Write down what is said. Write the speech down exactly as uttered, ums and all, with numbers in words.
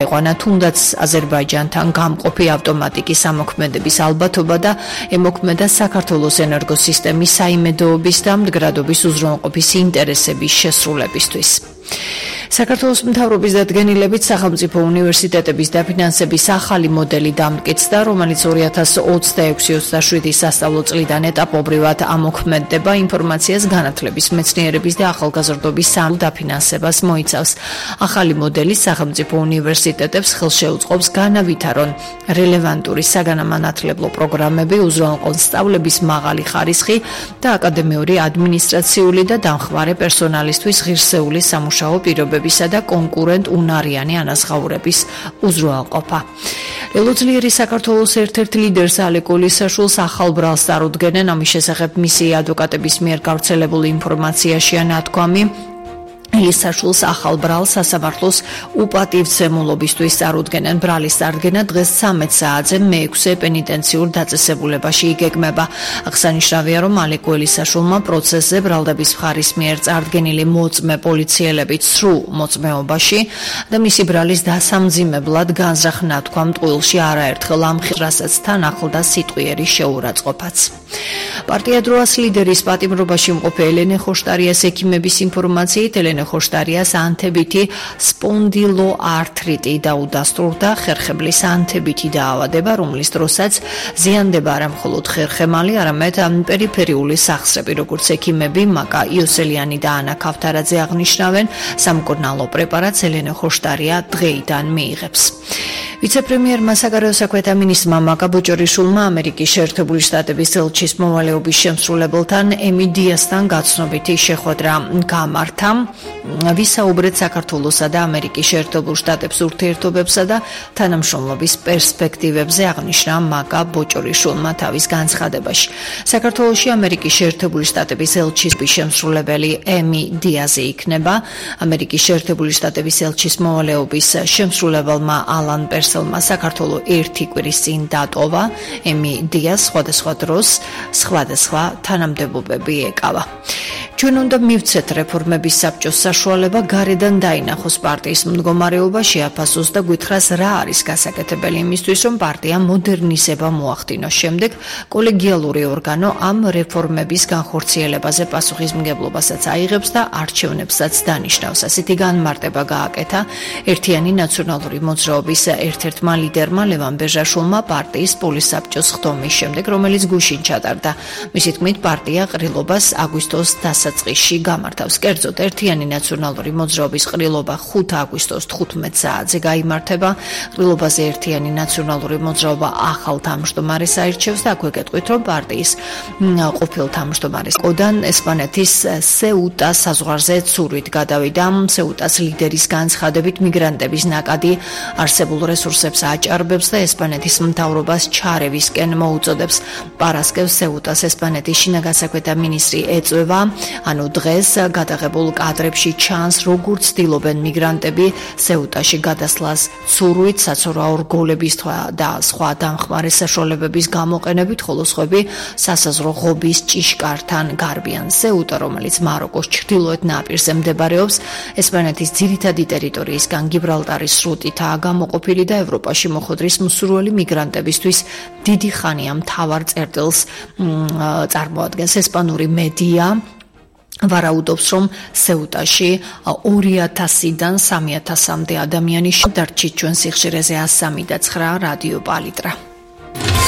წაიყვანა თუნდაც აზერბაიჯანთან გამყოფი ავტომატიკის ამოქმედების ალბათობა და ემოქმედა საქართველოს ენერგოსისტემის საიმედოობის და მდგრადობის უზრუნველყოფის ინტერესების შესრულებისთვის. საქართველოს მთავრობის დადგენილებით სახელმწიფო უნივერსიტეტების დაფინანსების ახალი მოდელი დამტკიცდა, რომელიც ორი ათას ოცდაექვსი ოცდაშვიდი სასწავლო წლიდან ეტაპობრივად ამოქმედდება, ინფორმაციას განათლების, მეცნიერების და ახალგაზრდობის სამ დაფინანსებას მოიცავს. ახალი მოდელი სახელმწიფო უნივერსიტეტებს ხელს შეუწყობს განავითარონ რელევანტური საგანმანათლებლო პროგრამები, უზრუნველყონ სწავლების მაღალი ხარისხი და აკადემიური, ადმინისტრაციული და დამხმარე პერსონალისთვის ღირსეული სამუშაო პირობები და კონკურენტ უნარიანი ანაზღაურების უზრუნველყოფა. ელოძლიერი საქართველოს ერთ-ერთ ლიდერს ალეკ ოლისაშვილს ახალ ბრალს წარუდგენენ, ამის შესახებ მისი ადვოკატების მიერ გავრცელებული ინფორმაციაშია ნათქვამი. ელისაშვილს ახალ ბრალს სასამართლოს უპატივცემულობისთვის წარუდგენენ. ბრალის წარდგენა დღეს ცამეტ საათზე მეექვსე პენიტენციურ დაწესებულებაში იგეგმება. აღსანიშნავია, რომ ალეკ ელისაშვილმა პროცესზე ბრალდების მხარის მიერ წარდგენილი მოწმე პოლიციელებით სრულ მოწმეობაში და მისი ბრალის დასამძიმებლად განზრახ ნათქვამ ტყუილში არაერთხელ ამხილეს, რასაც თან ახლდა სიტყვიერი შეურაცხყოფაც. პარტია დროას ლიდერის პატიმრობაში მყოფი ელენე ხოშტარიას ექიმების ინფორმაციით ელენე ხოშტარიას ანთებითი სპონდილოართრიტი დაუდასტურდა, ხერხებლის ანთებითი დაავადება, რომლის დროსაც ზიანდება არა მხოლოდ ხერხემალი, არამედ პერიფერიული სახსრები, როგორც ექიმები მაკა იოსელიანი და ანა ქავთარაძე აღნიშნავენ. სამკურნალო პრეპარატს ელენე ხოშტარია დღეიდან მიიღებს. ვიცე-პრემიერმა საგარეო საქმეთა მინისტრმა მაკა ბოჭორიშვილმა ამერიკის შეერთებული შტატების ელჩის მოვალეობის შემსრულებელთან ემი დიასთან გაცნობითი შეხვედრა გამართა. ვისაუბრეთ საქართველოსა და ამერიკის შეერთებულ შტატებს ურთიერთობებსა და თანამშრომლობის პერსპექტივებზე, აღნიშნა მაკა ბოჭორიშვილმა თავის განცხადებაში. საქართველოში ამერიკის შეერთებული შტატების ელჩის შემსრულებელი ემი დიაზი იქნება. ამერიკის შეერთებული შტატების ელჩის მოვალეობის შემსრულებელმა ალან პერსელმა საქართველოს ერთი კვირის წინ დატოვა. ემი დიას სხვადასხვა დროს სხვადასხვა თანამდებობები ეკავა. ჩვენ უნდა მივცეთ რეფორმების საბჭოს საშუალება გარედან დაინახოს პარტიის მდგომარეობა, შეაფასოს და გითხრას რა არის გასაკეთებელი იმისთვის, რომ პარტია მოდერნიზება მოახდინოს. შემდეგ კოლეგიალური ორგანო ამ რეფორმების განხორციელებაზე პასუხისმგებლობასაც აიღებს და არჩევნებსაც დანიშნავს. ასეთი განმარტება გააკეთა ერთიანი ნაციონალური მოძრაობის ერთ-ერთმა ლიდერმა ლევან ბეჟაშვილმა პარტიის პოლისაბჭოს ხდომის შემდეგ, რომელიც გუშინ ჩატარდა. მისი თქმით, პარტია ყრილობას აგვისტოს დასაწყისში გამართავს. კერძოდ, ერთიანი ნაციონალური მოძრაობის ყრილობა ხუთი აგვისტოს თხუთმეტ საათზე გაიმართება. ყრილობაზე ერთიანი ნაციონალური მოძრაობა ახალ თავმჯდომარეს აირჩევს და აქვე გეტყვით, რომ პარტიის ყოფილ თავმჯდომარის კოდან ესპანეთის სეუტას საზღვარზე ცურვით გადავიდა. სეუტას ლიდერის განცხადებით, მიგრანტების ნაკადი არსებულ რესურსებს აჭარბებს და ესპანეთის მთავრობას ჩარევისკენ მოუწოდებს. პარასკევს სეუტას ესპანეთის შინაგან საქმეთა მინისტრი ეწვევა, ანუ დღეს გადაღებულ კადრებში ჩანს, როგორ ცდილობენ მიგრანტები სეუტაში გადასვლას ცურვით, საცურაო რგოლების და სხვა დამხმარე საშუალებების გამოყენებით, ხოლო სხვები სასაზღვრო ღობის ჭიშკართან გარბიან. სეუტა, რომელიც მაროკოს ჩრდილოეთ ნაპირზე მდებარეობს, ესპანეთის ძირითადი ტერიტორიისგან გიბრალტარის სრუტითაა გამოყოფილი და ევროპაში მოხვედრის მსურველი მიგრანტებისთვის დიდი ხანია მთავარ წერტილს წარმოადგენს. ესპანური მედია ვარაუდობს, რომ სეუტაში ორი ათასიდან სამი ათასამდე ადამიანი დარჩით. ჩვენ სიხშირეზე ას სამი და ცხრა რადიო პალიტრა.